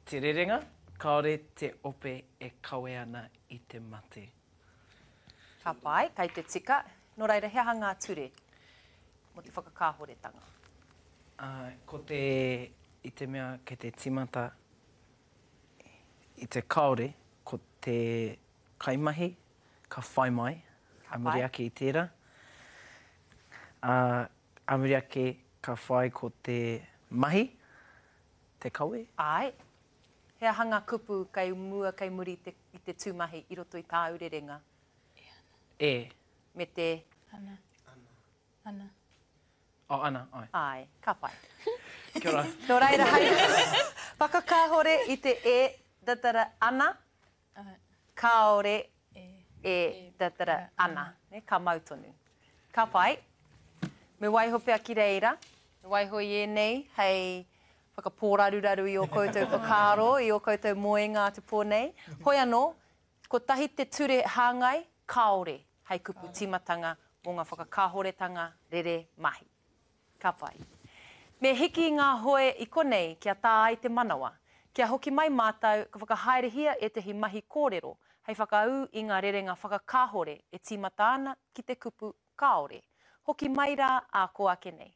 Te rerenga, kāore te ope e kawe ana i te mate. Ka pai, kei te tika. Nō reira, he aha ngā ture mō te whakakāhoretanga? Ā, ko te, i te mea kei te tīmata i te kāore, ko te kaimahi ka whai mai, a muri ake i tērā. Ā, a muri ake ka whai ko te mahi, te kawe. Āe. He aha ngā kupu kei mua, kei muri i te, i te tūmahi i roto i tāu rerenga? E ana. E. Me te. Ana. Ana. Ana. Oh, ana, āe. Āe, ka pai. Kia ora. Nō reira, hei whakakāhore i te e, da, da, da, ana, kāore e, da, da, da, ana. Ka mau tonu. Ka pai. Me waiho pea ki reira. Me waiho i ēnei hei whakapōraruraru i ō koutou whakaaro, i ō koutou moenga a te pō nei. Hoi anō, kotahi te ture hāngai, kāore hei kupu tīmatanga mō ngā whakakāhoretanga rere mahi. Ka pai. Me hiki i ngā hoe i konei kia tā ai te manawa. Kia hoki mai mātou, ka whakahaerehia ētahi mahi kōrero hei whakaū i ngā rerenga whakakāhore e tīmata ana ki te kupu kāore. Hoki mai rā ā kō ake nei.